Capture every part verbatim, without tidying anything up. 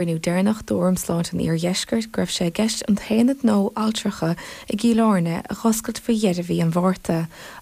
Cruinniú deireanach d'Fhóram Sláinte an Iardheiscirt go raibh sé i gceist an t-aonad nua altrachta i gCill Airne a dh'oscailt faoi dheireadh mhí an Mhárta,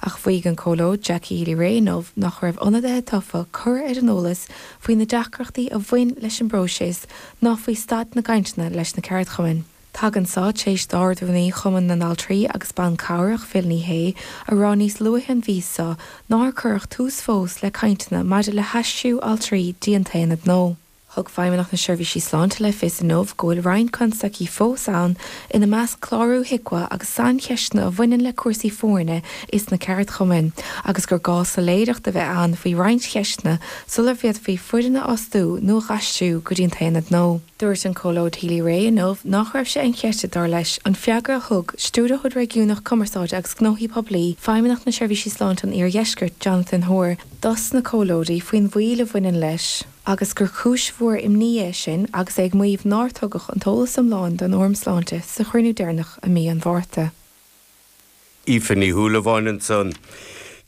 ach mhaígh an Comhairleoir Jackie Healy-Rae inniu nach raibh ionadaithe tofa curtha ar an eolas faoi na deacrachtaí a bhain leis an bpróiseas ná faoi staid na gcainteanna leis na ceardchumainn. Tagann seo tar éis d'Ard-Rúnaí Chumann na nAltraí agus Ban Cabhrach Phil Ní Sheaghdha a rá níos luaithe an mhí seo nár cuireadh tús fós le cainteanna maidir le haistriú altraí dtí an t-aonad nua. Thug Feidhmeannacht na Seirbhísí Sláinte le fios inniu go bhfuil roinnt constaicí fós ann ina measc clárú HIQA agus saincheisteanna a bhaineann le cúrsaí foirne is na ceardchumainn, agus gur gá soiléireacht a bheith ann faoi roinnt cheisteanna sula bhféadfaí foireann a fhostú nó a dh'aistriú go dtí an t-aonad nua. Dúirt an Comhairleoir Healy-Rae inniu nach raibh sé inchreidte dar leis an freagra a thug Stiúrthóir Réigiúnach Cumarsáide agus Gnóthaí Poiblí Feidhmeannacht na Seirbhísí Sláinte an Iardheiscirt Jonathan Hoare dos na comhairleoirí faoin mhoill a bhaineann leis agus gur cúis mhór imní é sin agus é ag maíomh nár tugadh an t-eolas iomlán don Fhóram Sláinte sa chruinniú deireanach i mí an Mhárta. Aoife Ní Shúilleabháin ansan.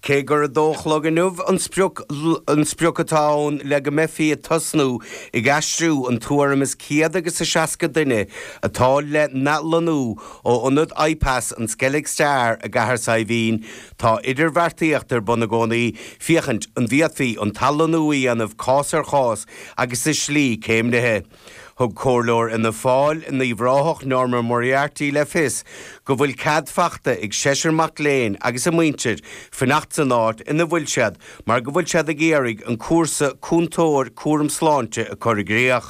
Cé gur a dó a chlog inniu an sprioc an sprioc atá ann le go mbeifí ag tosnú ag aistriú an tuairim is céad agus a seasca duine atá le n-athlonnú ó ionad IPAS an Skellig Star i gCathair Saidhbhín, tá idirbheartaíocht ar bun i gcónaí féachaint an bhféadfaí an t-athlonnú a dhéanamh cás ar chás agus i slí céimnithe. Thug Comhairleoir Fhianna Fáil in Uíbh Ráthach Norma Moriarty le fios go bhfuil cead faighte ag seisear mac léinn agus a muintir fanacht san áit ina bhfuil siad mar go bhfuil siad ag iarraidh an cúrsa cúntóir cúram sláinte a chur i gcrích.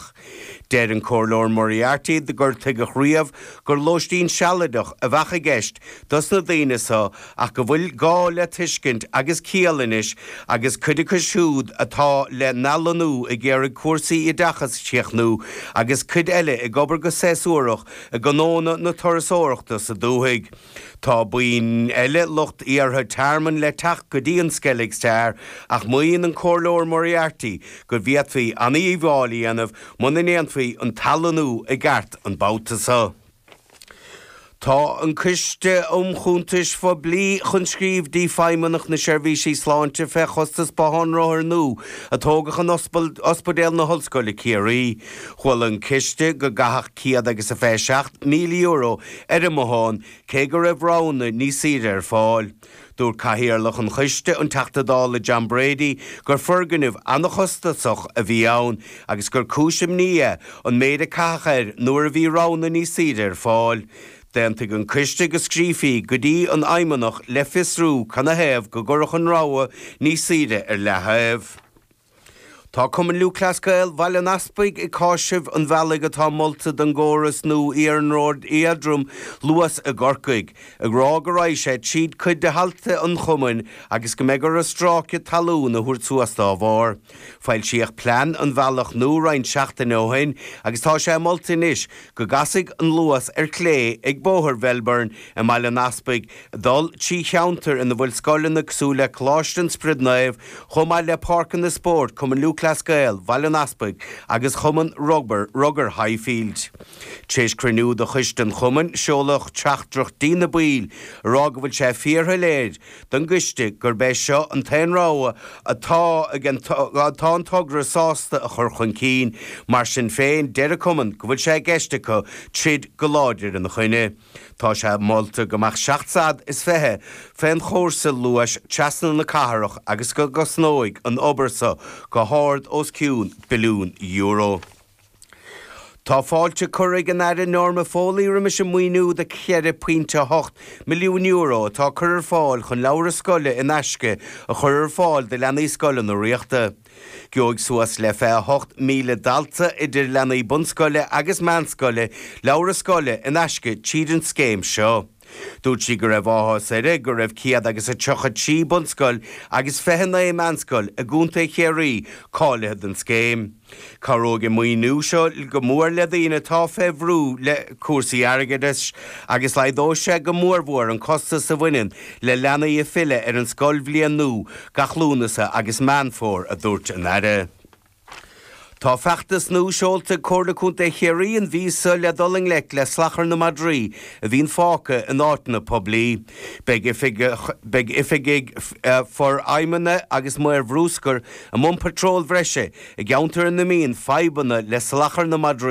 Deir an Comhairleoir Moriarty gur tuigeadh riamh gur lóistín sealadach a bheadh i gceist dos na daoine seo ach go bhfuil gá le tuiscint agus ciall anois agus cuid acu siúd atá le n-athlonnú ag iarraidh cúrsaí oideachais a chríochnú agus cuid eile ag obair go séasúrach i ngnónna na turasóireachta sa dúthaigh. Tá buíon eile lucht iarrtha tearmainn le teacht go dtí an Skellig Star ach maíonn an Comhairleoir Moriarty go bhféadfaí an-dhíobháil a dhéanamh muna ndéanfaí an t-athlonnú i gceart an babhta seo. Tá an Coiste um Chuntais Phoiblí chun scríobh dtí Feidhmeannacht na Seirbhísí Sláinte fé chostas bothán rothar nua a tógadh in Ospidéal na hOllscoile Ciarraí. Chuala an Coiste go gcaitheadh céad agus a fiche seacht míle euro ar an mbothán cé go raibh roghanna níos saoire ar fáil. Dúirt Cathaoirleach an Choiste, an Teachta Dála John Brady, gur foirgneamh an-chostasach a bhí ann agus gur cúis imní é an méid a caitheadh air nuair a bhí roghanna níos saoire ar fáil. D'aontaigh an Coiste go scríofaí go dtí an Fheidhmeannach le fiosrú canathaobh go gcuirfeadh an rogha níos saoire ar leaththaobh. Tá Cumann Lúthchleas Gael Bhaile an Easpaig ag cáiseamh an bhealaigh atá molta don gcóras nua iarnróid éadroim Luas i gCorcaigh, ag rá go raghaidh sé tríd cuid de thailte an chumainn agus go mbeidh orthu stráice talún a thabhairt suas dá bharr. Foilsíodh plean an bhealach nua roinnt seachtaine ó shin agus tá sé molta anois go gcasfaidh an Luas ar clé ag Bóthar Mhelbourne i mBaile an Easpaig, ag dul trí cheantar ina bhfuil scoileanna cosúil le Coláiste an Spioraid Naoimh, chomh maith le páirceanna spóirt Cumann Lúthchleas Gael Bhaile an Easpaig agus Chumann Rugair Rugair Highfield. Tar éis cruinniú de choiste an chumainn, seoladh teachtaireacht dtí na baill ag rá go bhfuil sé fíorshoiléir don gcoiste gurb é seo an t-aon rogha atá ag an atá an togra sásta a chur chun cinn. Mar sin féin, deir an cumann go bhfuil sé i gceist acu troid go láidir ina choinne. Tá sé molta go mbeadh seacht slat is fiche fén chúrsa Luais trasna na cathrach agus go gcosnóidh an obair seo go hard os cionn billiún euro. Tá fáilte curtha ag an Aire Norma Foley roimis an maoiniú de cheithre pointe a hocht milliún euro atá curtha ar fáil chun leabhra scoile in aisce a chur ar fáil do leanaí scoileanna ríochta. Gheobhaidh suas le fiche a hocht míle dalta idir leanaí bunscoile agus meánscoile leabhra scoile in aisce tríd an scéim seo. Dúirt sí go raibh áthas uirthi go raibh céad agus a tríocha trí bunscoil agus fiche naoi meánscoil i gContae Chiarraí cáilithe don scéim. Cabhróidh an maoiniú seo go mór le daoine atá fé bhrú le cúrsaí airgeadais agus laghdóidh sé go mórmhór an costas a bhaineann le leanaí ag filleadh ar an scoilbhliain nua gach Lúnasa agus Meán Fómhair, a dúirt an Aire. Tá feachtas nua seolta ag Comhairle Contae Chiarraí an mhí seo le dul i ngleic le salachar na madraí a bhíonn fágtha in áiteanna poiblí. Beidh oifigigh forfheidhmithe agus maoir bhruscair i mbun patról bhreise i gceantair ina mbíonn fadhbanna le salachar na madraí.